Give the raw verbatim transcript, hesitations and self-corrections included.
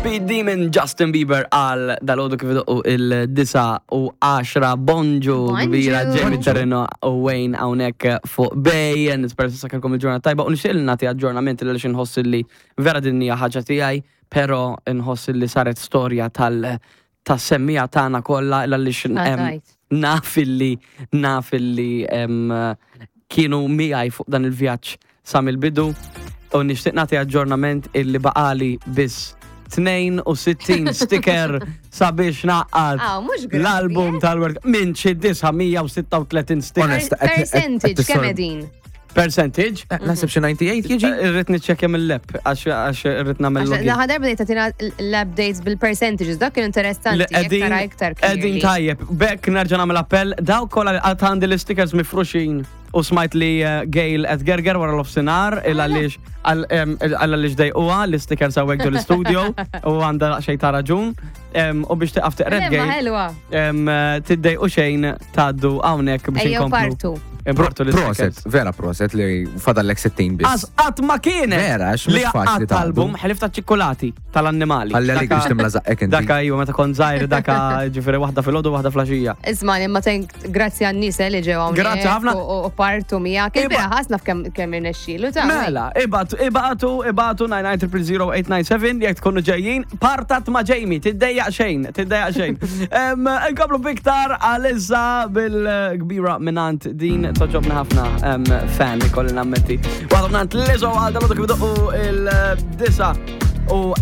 Speed Demon, Justin Bieber, għal dalgħodu kif idoqqu il-disgħa u għaxra. Bonġu. Bonġu. Kbira, Jamie Terreno u Wayne hawnhekk fuq Bay. Nispera s'issa kellkom il-ġurnata tajba u nixtieq li nagħti aġġornament li nħoss li vera din hija ħaġa tiegħi, però nħoss li saret storja tal tas-semmiegħa tagħna kollha għaliex Ah, em, tajt. naf illi naf illi em, kienu miegħi fuq dan il-vjaġġ sa mill-bidu u nixtieq nagħti aġġornament illi baqali biss tnejn u sittin sticker sabiex ngħaqqad Ah, mhux gravi, l-album eh? tal-work minn xi disa' mija u sitta u tletin sticker. Onest, qed- qed- Percentage, qed kemm tissor- edin? Percentage? Eh, Naħseb xi disgħa u disgħin jiġi? Irrid niċċekkja mill-app għax għax irrid nagħmel login. L-aħħar darba bdejt tagħtina l-updates bil-percentages, dak kien interessanti, Li jekk tara iktar Qegħdin clearly. tajjeb, bekk nerġa' nagħmel appell, dawk kollha li għad għandi l-stickers mifruxin u smajt li uh, Gail qed gerger wara l-offsinar il għaliex għaliex dejquha l-stickers hawnhekk ġo l-studio u għandha xejn ta' raġun. Em, U biex tiqaf teqred Lemma Gail, ħelwa. em, tiddejqu xejn, tgħaddu hawnhekk biex Ejjew inkomplu. partu. Impartu Proset, l-stickers. vera proset li fadallek sittin biss. Għax qatt ma kienet. Vera, għax mhux li faċli qatt tgħaddu. album ħlief ta' ċikkulati tal-annimali. Ħalli għalik Daka- biex timla żaqqek inti. Daka iva, meta kont żgħir, daka ġifieri waħda filgħodu, waħda filgħaxija. Isma' imma tenk grazzi għan-nies eh, li ġew hawnhekk Grazzi ħafna. U u partu miegħek. Iba- Il-bieraħ ħasna f'kemm kemm irnexxielu ta' Mela, ibagħtu, ibagħtu, ibagħtu nine nine zero zero eight nine seven jekk tkunu ġejjin, partat ma' Jamie, tiddejjaq xejn, tiddejjaq xejn. Em, Nkomplu biktar għalissa bil-kbira mingħand din togħġobni ħafna em, fan ikolli nammetti. Waħda mingħand Lizzo għal dalgħodu kif idoqqu il-disgħa u